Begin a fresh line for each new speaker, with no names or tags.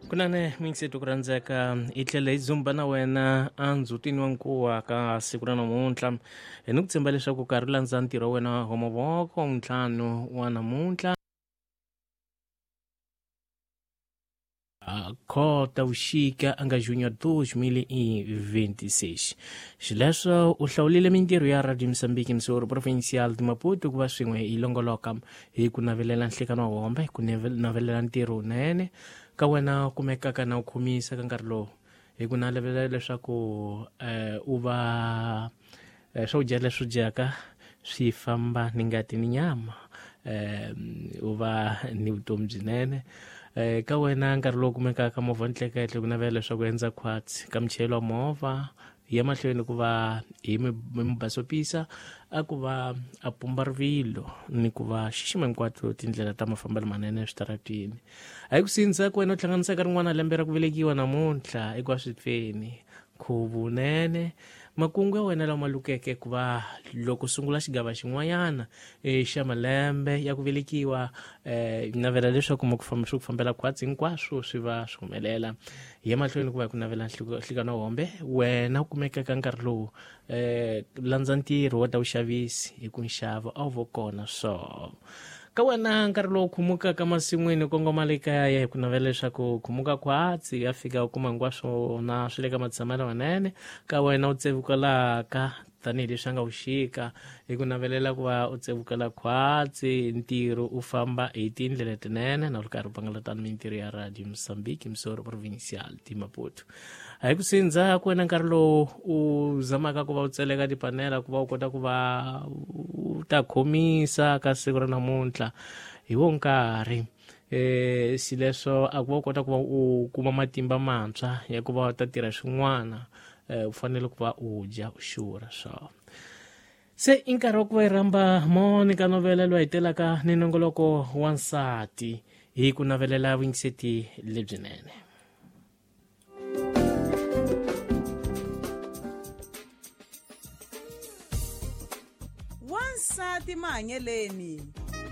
Kunene muyingiseti ku rhandzeka hi tlhela hi dzumba na wena endzhutini wa nkuwa ka siku ra namuntlha hi ni ku tshemba leswaku karhi u landza ntirho wa wena wa mavoko ntlhanu wa namuntlha Kota vuxika a nga junho 2026. Xileswo u hlawulile mintirho ya Radio Mozambique Msoro Provincial de Maputo ku va swin'we yi longoloka hi ku navelela nhlekano wa hombe ku navelela ntirho wunene ka wena u kumekaka na u khomisa ka nkarhi lowu hi ku navelela leswaku u va swakudya leswi dyaka swi famba ni ngati ni nyama u va ni vutomi byinene ka wena nkarhi lowu kumekaka movha ntleketlo ku navela leswaku endza khwatsi ka muchayeri wa movha ya mahlweni ku va hi mubasopisa a ku va a pumba rivilo ni ku va xixima hinkwato tindlela ta mafambelo manene eswitaratwini a hi ku sindza ku wena u hlanganisaka rin'wana lembe ra ku velekiwa namuntlha eka swipfeni khuvunene makungu ya wena lama lukeke ku va loko sungula xigava xin'wanyana xa malembe ya ku velekiwa navela leswaku ma ku famba swi ku fambela khwatsi hinkwaswo swi va swi humelela hi ya mahlweni ku va hi ku navela nhlikano hombe wena u kumekaka nkarhi lowu landza ntirho wa ta vuxavisi hi ku nxavo a wu vo kona so ka wena nkarhi lowu khumukaka masin'wini kongoma le kaya hi ku navela leswaku khumuka khwatsi ya fika u kuma hinkwaswo na swi le ka matshamelo manene ka wena u tsevukelaka tanihileswi a nga vuxika hi ku navelela ku va u tsevukela khwatsi ntirho u famba hi tindlela tinene na u ri karhi u pangalatana mintirho ya Radio Mozambique Msoro Provincial de Maputo a hi ku sindza ku wena nkarhi lowu u zamaka ku va u tseleka tipanela ku va u kota ku va u ta khomisa ka siku ra namuntlha hi wo nkarhi xileswo a ku va u kota ku va u kuma matimba mantshwa ya ku va u ta tirha swin'wana u fanele ku va u dya u xurha swo se i nkarhi wa ku va hi rhamba Monica Novela loyi hi telaka ni nongoloko wa nsati hi ku navelela vuyingiseti lebyinene.
Wansati mahanyeleni.